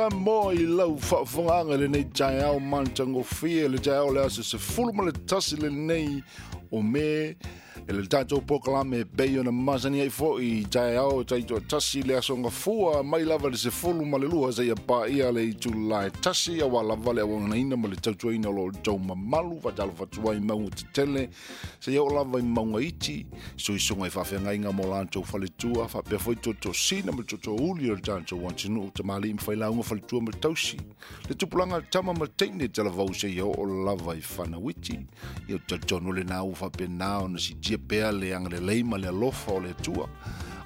Samoa i lau faafofogaaga i lenei taeao matagofie, le taeao o le aso 11 lenei o Me, e le tatou polokalame e pei ona masani ai foi i taeao taitoatasi le aso gafua mai lava i le 12 seia paia le itula e 1, auā lava le auaunaina ma le tautuaina o lo outou mamalu. Faatalofa atu ai mauga tetele seia oo lava i mauga iti, suisuga i faafeagaiga mo latou faletua, faapea foi tootoo-sina ma tootoo-uli o le tatou atunuu, tamalii ma failauga, faletua ma tausi, le tupulaga tama ma teine talavou seia oo lava i fanauiti. Ia, ou te talitonu lena ua faapena ona siitia pea le agalelei ma le alofa o le Atua,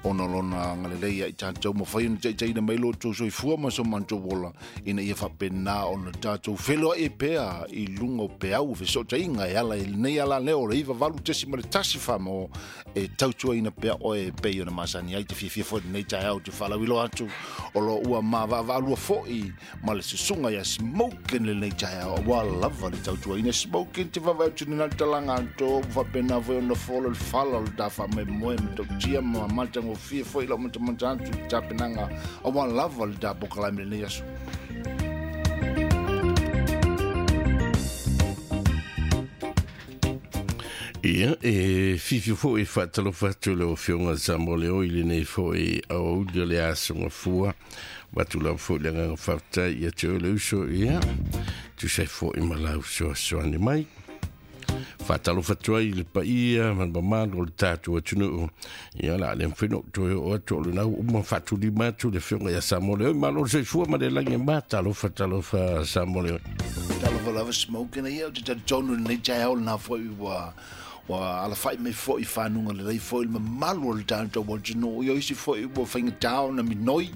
ona o lona agalelei ia i tatou, mafai ona taitaiina mai lo outou soifua ma so matou ola, ina ia faapena ona tatou feloai pea i luga o peau o fesootaiga e ala i lenei alaleo o le 98.1 Famo e tautuaina pea oe e pei ona masani ai. Te fiafia foi lenei taeao te faalauiloa atu o lo ua mavaavaalua foi ma le susuga ia Smokin lenei taeao, auā lava le tautuaina. Smokin, te vaavaai atu lena le talaga atoa ua faapena foi ona folo le fala o le ta faamoemoe ma tautia ma matagofie foi lau matamata atu i le tapenaga, auā lava le ta polokalame lenei aso. Ia, e fiafia foi e faatalofa atu i lau Afioga Samoa Leo i lenei foi aoauli o le aso gafua. Avatu lava foi le agaga faafetai ia te oe le uso, ia, tusa ai foi ma lau fesoasoani mai. Faatalofa atu ai i le paia ma le mamalu o le tatou atunuu. Ia, o le a le mafai ona ou toe oo atu, o lena ua uma faatulima atu le Afioga ia Samoa Leo. Malo le soifua ma le lagi e ma. Talofa, talofa Samoa Leo. Talofa lava Smokin, ia, ou te talitonu i lenei taeao lena foi ua ua alafai mai foi i fanuga lelei foi le mamalu o le tatou atunuu. Ia, o isi foi ua faigata ona minoi,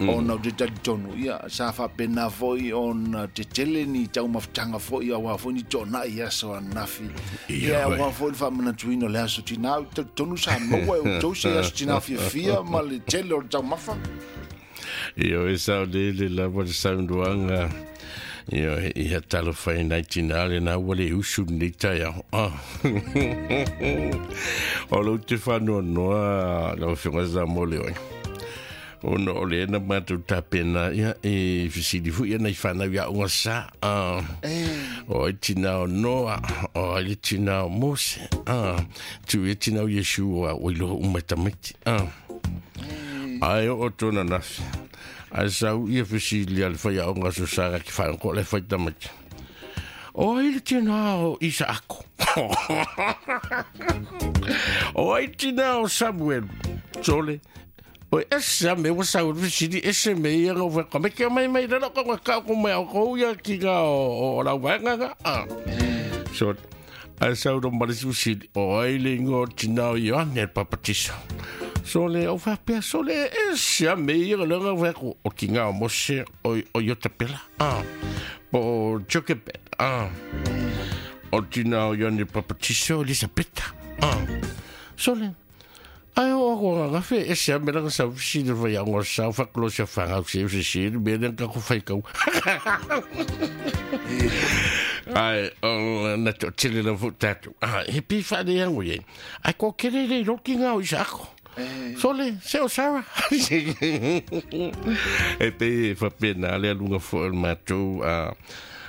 ona ou te talitonu, ia, sa faapena foi ona tetele ni taumafataga foi, auā foi ni toonai i aso ananafi. Ia, auā foi le faamanatuina o le aso tinā. Ou te talitonu sa maua e outou se aso tinā fiafia ma le tele o le taumafa. Ia, e saolele lava le saunoaga. Ia, ia talofa e nai tinā lena ua le usu lenei taeao. Ah. O lou te faanoanoa lau Afioga Samoa Leo. Ona o lea na matou tapena, ia, e fesili foi ia nai fanau ia aoga sa. Ah. O ai tinā o Noa, o ai le tinā o Mose. Ah. Tu ia tinā o Iesu o a oi loa uma e tamaiti. Ah. Ai oo tona nafi. Ai sau ia fesili a le faiaoga aso sa ki whaango le whai tamaiti. O ai le tinā o Isaako. O ai tinā o Samuel. Sole. O ese a me ua sau le fesili ese me ia ngau whai kame kia mai mai rara ko ngā kau ko mai au ko ia ki ngā o lau vaenga ngā. Ah. So, ai sau ro marisi fesili. O ai le ingoa o tinā o Ioane le Papatiso. Sole, o faapea, sole, e se a me ia le nga whai ko o ki ngā o Mose o, o Iotapela. Ah. Po o Jokebed. Ah. O tinā o Ioane Papatiso, Elisapeta. Ah. Sole, ai o ako nga ngafe, e se a me langa sau fisili whai a ngā sau whakulo sia whangau se se se me le ka ko whai kau. Ai, o, na te o tele la fo tātou. Ah, he pi whaare ango ye. Ai ko kere rei roki ngā o Isaako. Sole, se o Sarah. E pe e whapena le alunga fo o le mātou a,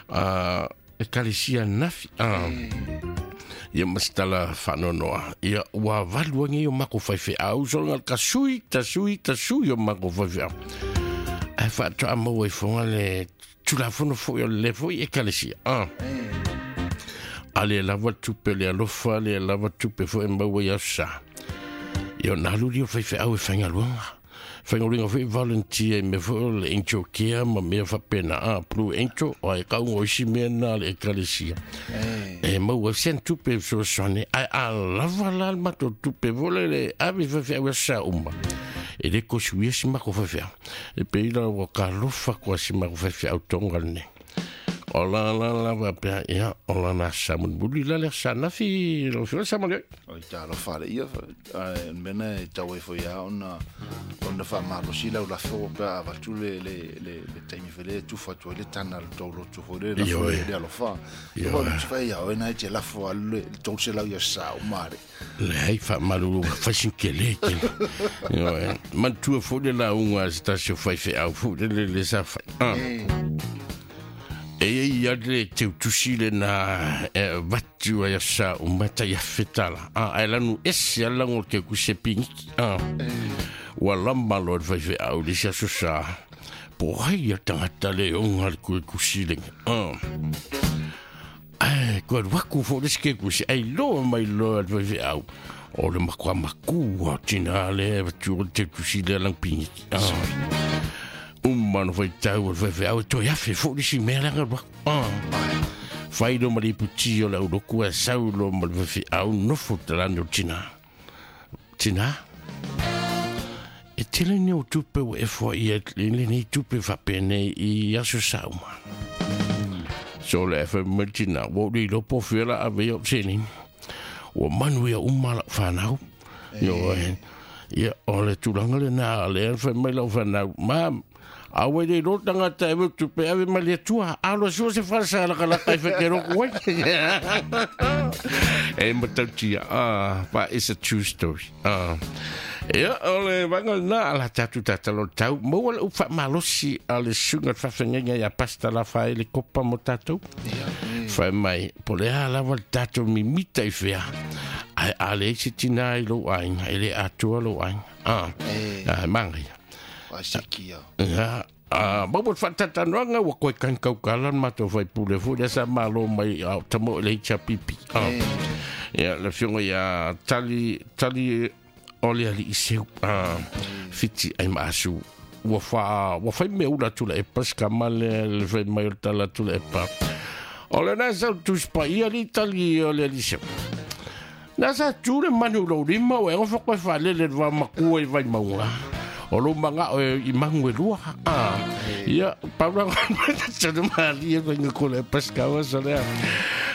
a, ekalesia nafi. A, ia ma se tala whaanoanoa. Ia ua valu angi o mako whaiwheau. So nga ka sui, ta sui, ta sui o mako whaiwheau. Ai whaatoa maua i whonga le tulafono foi o le foi ekalesia. A. A le lava tupe le alofa, le lava tupe foi maua i aso sa. Ia o nā luri o whaiwheau e whaingaluanga. Whaingaluanga foi volunteer i mea foi o le Angel Care ma mea whapena. A, Blue Angel, o ai kaunga o isi mea nā le ekalesia. E maua sen tupe e fesoasoani, ai a lava la le matou tupe vole le ave whaiwheau e sa uma. E le kosi uia si mako whaiwheau. E pei la ua ka alofa koa si mako whaiwheau tonga lenei. O la la la va pea ia o la na sa mulimuli la le sa nafi lo fio sa male. O i talo fale ia a mena e tau e foi a ona ona fa malosi lau la fo pe a vatu le le le le taimi fele tu fa tu le tana le tau lotu fo le la fo le alofa. Ia o le fai ia o na te la fo le tau se lau ia sa o mare. Le hei fa malulu fa sin ke le ke. Io e man tu fo le la unga sta se fai fe au fo le le sa fa. E ia le te tusi le na vatu ai sa o mata ia fetala. A lanu ese ala ngo ke ku se pingi. Ua lamba lo fai fe au le sa sa. Po hai ia tangata le onga le ku kusi le. Ai ko waku fo le ske ku se ai lo mai lo fai fe au. O le makua makua tina le vatu te tusi le lang pingi. Mano fai tau fai fai au toi afe fo le si mea langa fai lo mali puti o la uloku a sau lo mali fai au nofo talano tina tina e tele ni o tupe o e fo i e le ni tupe fa pene i aso sauma so le fa tina wo li lo po fela a ve o seni o manu ia umala whanau yo ia o le tulanga le na le fa mai lau whanau ma awe le lo tangata e tupe ave mai tua alo so se falsa la kala kai fe kero ko e matautia but it's a true story ia ole vanga na ala tatu tata lo tau mo wala ufa malosi ale sunga fa fenga ya pasta la fa le kopa mo tatu fa mai pole ala wal tatu mi mita i fea ai ale sitina i lo ai ele atua lo ai mangi Asikia. Ya, mo fatatanoanga wa koe kan kaukalan mato fai pule fu le sa malo mai au tamo le chapipi. Ya le fionga ya tali tali ole ali iseu fiti ai masu wa fa me ula tula e paska male le fai mai tala tula e pa. Ole na sa tu spa ia li tali ole ali iseu. Na sa tu le manu lo lima o e fa koe fa le le va makua i vai maunga. O lo manga o i mangu e lua. Ia, paura tsa mali e venga ko le pescava sa le.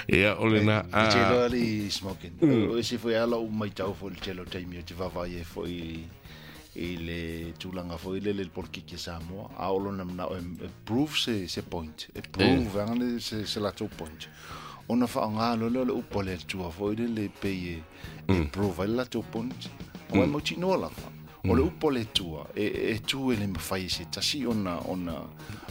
Ia o le na. Te lo ali smoking. O se foi ala o mai tau fo le telo taimi o te vava e fo i le tūlanga fo i le le polkiki Samoa. A o lona mna o e prove se point. E prove angane se la tau point. Ona fa nga lo le upo le tua fo i le pe e prove la tau point. O e mo tino la fa. O le upo le tua, e tu e le mawhai se tasi ona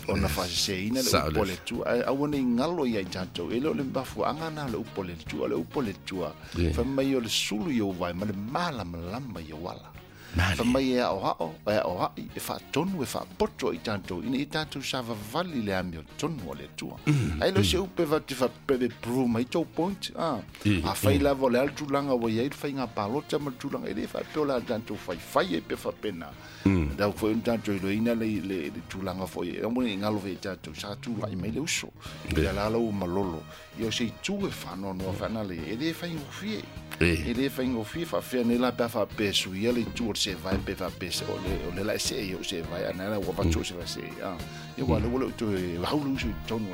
whase ina le upo le tua. A wana i ngalo ia i tātou, e leo le mbafu angana le upo le tua, le upo le tua. Wha mai o le sulu i o vai, ma le malama lama i o wala. Wha mai e ao hao, e ao hai, e whaatonu, e whaapoto i tātou, ina i tātou sa vavali le ami o tonu o le tua. Ai leo se upe wa te whapebe prove mai tau point. A whai lava o le al tūlanga wa iai whai ngā palota ma tūlanga, e le whapeo la tātou whai whai e pe whapena. Dau whai un tātou i loina le tūlanga whai, e amone i ngalo whai tātou, sa tūla i mai le uso. Ia lala o malolo. Ia o se i tū e whanoa noa whanale, e le whai ngofie. E le whai ngofie whawhea ne la pea whapesu ia le tū o se vai pe whapese o le la se e o se vai ana la wa fatu se vai se ia wa le wala tu e haulu usu tonu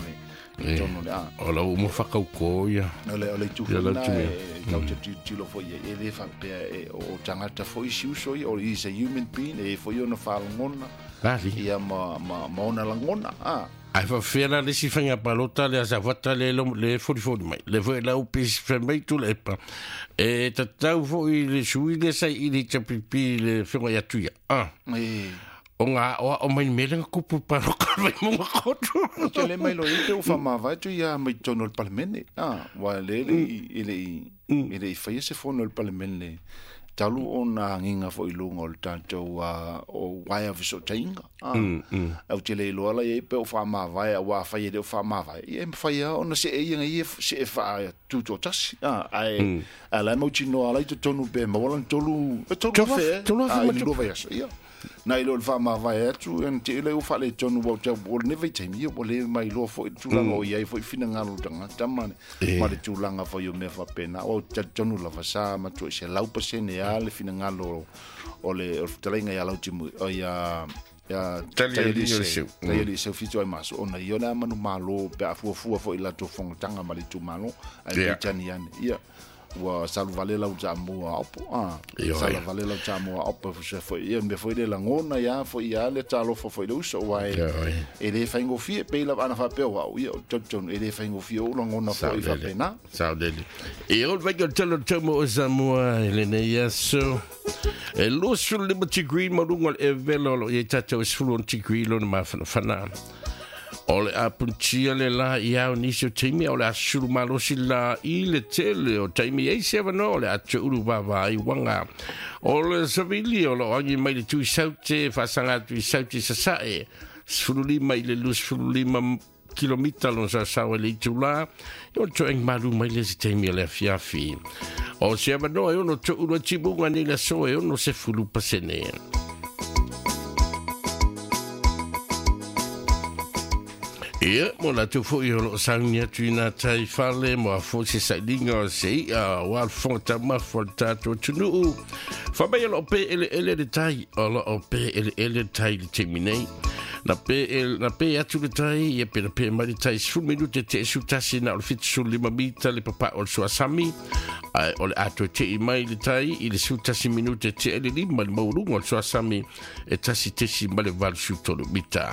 le tonu le o la mo whakau ko ia o le tū na e tau te tilo fo ia e le whapea e o tangata fo isi uso ia o is a human being e fo ia ona whalangona ia ma ona langona Ai fa fela le si fanga palota le asa vata le le fori fori mai le foi la upis fe mai tu le pa e tatau fo i le sui le sai i le chapipi le fenga ia tuia o nga o mai mele kupu pa ro ka mai mo kotu te le mai lo i te ufa ma vai tu ia mai tono le palmene wa le le i le fai se fono le palmene talu ona nginga fo ilunga o le tātou o waia viso tainga. Au te le iloa la e pe o whaamavae a wā whai e le o whaamavae. Ia e mwhai a ona se e ia ia se e wha tūtō tasi. Ai a lai mau tino ala i te tonu pe mawalan tolu e tolu whea. Tolu whea. I lua vai aso. Ia. Na ilo le whaamavae atu e te ilo o whaale tonu wau te o le nevei taimi ia o le mai loa fo i tūlanga o iai fo i whina ngalo tanga tamane ma le tūlanga fo i o mea whapena o te tonu lava sa matua i se 100% a le whina ngalo o le taleinga ia lau timu o ia Ia tali seu fitu ai maso ona ia na manu malo pe afuafua foi la to fongotaga ma le itumalo ae peitani ane ia ua saluvale lau tamua opo a salavale lau tamua opo fusa foi ia mea foi le lagona ia foi ia le talofa foi le uso ua e le faigofie pei lava ana faapea o au ia o tautaunu e le faigofie ou lagona foi faapena. Saolele. E o le vaika o le tele o le taumo o Samoa i lenei aso. E 25 degree ma luga o le evela o lo o i ai tatou e 16 degree lona mafanafana. O le a punitia le la i ao nisi o taimi, o le a sulu malosi la i le tele o taimi ei se avanoa o le a toulu vava ai wanga. O le savili o lo angi mai le tui saute, whaasanga atu i saute sasae, 15 i le 25 kilomita lona saosaoa i le itulā, e ono toe malu mai le isi taimi o le afiafi. O se avanoa e ono toulu ai timuga nei le aso e ono 10%. Ia, mo latou foi o loo sauni atu i nā tai fale, mo a foi se sailiga o se i'a aua le fofoga taumafa o le tatou atunuu. Fai mai o loo pē eleele le tai, o loo pē eleele le tai i le taimi nei. Na pē, na pē atu le tai, ia pe na pē mai le tai 10 minute te 11 na o le 75 mita le papa'o o le suasami, ae o le a toe te'i mai le tai i le 11 minute te le 5 le maualuga o le suasami e 1.83 mita.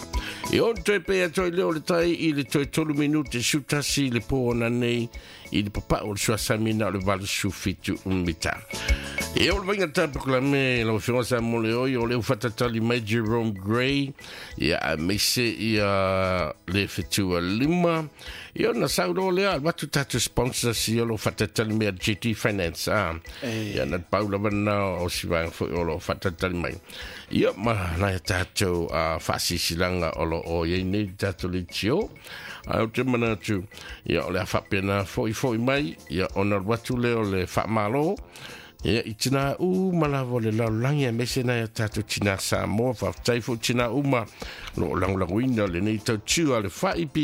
E ono toe pē atu ai lea o le tai i le toe 3 minute 11 le pō ona nei i le papa'o o le suasami na o le 87 mita. E o le vaiga tapakalame lau afioga sa mo le oi o le ufatatali mai Jerome Gray ia aemaise ia le fetua lima ia ona sau loa lea alu atu tatou sponsors ia o lo o faatalitali mai a GT Finance a ia na te pau lava lena o si vaega foi o lo o faatalitali mai ia ma nai a tatou faasisilanga o lo o i ai nei le tatou leitio. Ae ou te manatu ia o le a faapena foi foi mai ia ona alu atu lea o le faamalo ia i tinā uma lava o le lalolagi aemaise nai a tatou tinā Samoa. Faafetai foi tinā uma o lo o lagolagoina lenei tautiu a le FAIP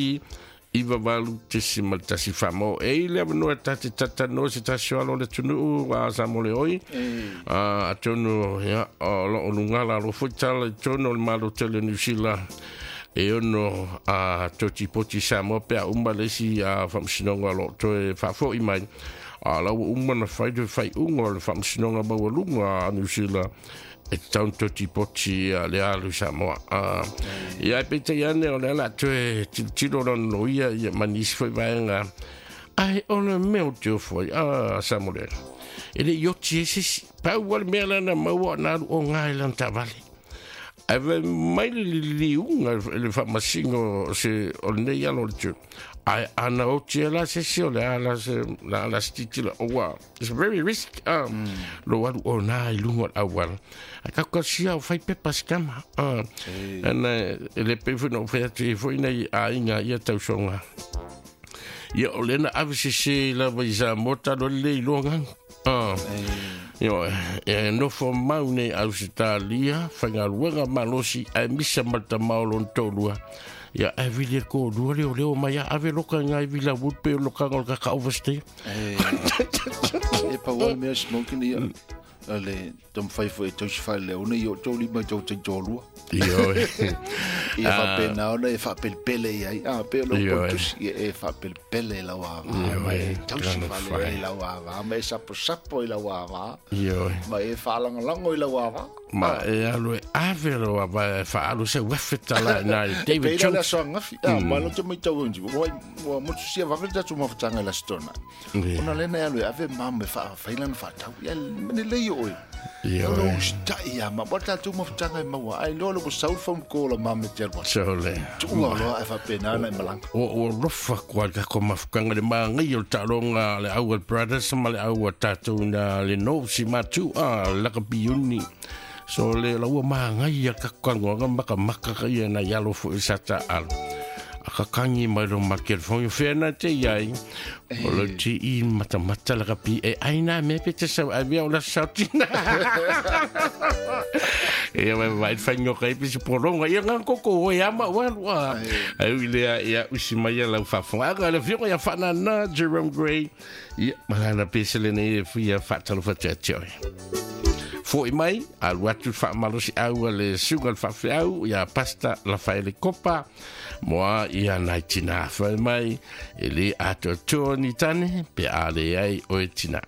98.1 Whamo. E i le avanoa e ta te tatanoa se tasi o alo o le atunuu a Samoa le oi. Atonu, ia, o lo o lugala alo foi tala i tonu o le Malo tele o Niu Sila e ono a totipoti Samoa pe a uma le isi a faamasinoga o lo o toe faafo'i mai. A la ua uma na fai le faaiuga o le faamasinoga maualuga a Niu Sila e tatau ona toe tipoti le alu i Samoa. Ia e peitai ane o le a la toe tilotilo lona loia ia ma nisi foi vaega. Ae o le mea o te ofo ai, a Samoa e le i oti ai se isi. Pau lava le mea lea na maua na alu o ngā i lana taavale. Ae fai mai le liliuga i le faamasino o se o lenei alo o le tū. Ae ana oti e la se isi o le a la se la la se titila ua it's very risk lo alu o nā i luga o le auala. Ae kau sia o fai pepa se kama. Ana e le pei foi na ou fai atu ai foi nei aiga ia tausoga. Ia o lena ave sese lava i Samoa talo le iloa gaga. Ioe, e nofo mau nei Ausetalia, faigaluega malosi ae misa ma le tama o lona toalua. Ia ae vili e kōlua leo leo mai a ave loka i ngā iwi la wood pe o lokanga o le kaka overstay. E pau lava le mea smoking ia. Le taumafai foi e tausi faaleona i o tou lima i tou taitoalua. Ioe. Ia faapena ona e faapelepele i ai. A, pei o lau kotusi, ia e faapelepele i lau ava, ma e tausi faaleona i lau ava, ma e saposapo i lau ava, ma e faalagolago i lau ava. Ma e alu e ave lau ava e faaalu sau afe tala i nā i David Pei la le Jones. aso angafi, a, ma lo te maitau e ua, ua motusia vave le tatou mafutaga i le Aso Toonai. Ona lea na e alu e ave ma me faafai lana faatau. Ia, mene lei o oe. Ioe. Lo usitai ia ma, wa le tatou mafutaga e maua. Ai loa le ua sau le phone call a mama e te alu atu. Sole. Tuua loa ae faapena ona e malaga. Ua ua lofa koa le tatou mafutaga le māngai o le taaloga a le Aual Brothers ma le au a tatou na le Nosi Matu a Lakapi Uni. So le la ua māngai a tatou kanoaga makamaka ka ia nai alo foi sa taalo. A kakangi mai lo ma telefoni whea na te iai. O lo te i matamata lakapi e ai nā mea pe te sau ai mea o la sautina. E wai wai whaingo kai pisi poronga ia ngā koko o e ama o alu a. Ai ui lea ia usi mai ia lau whawhanga. Aga le whionga ia whanana Jerome Gray. Ia malana pese le nei e whia whatalo whatea te oe. Fo'i mai alu atu le faamalosiau a le suga le faafeau ia Pasta Lafaele Kopa moa ia nai tinā. Fai mai e lē atoatoa ni tane pe a leai oe tinā.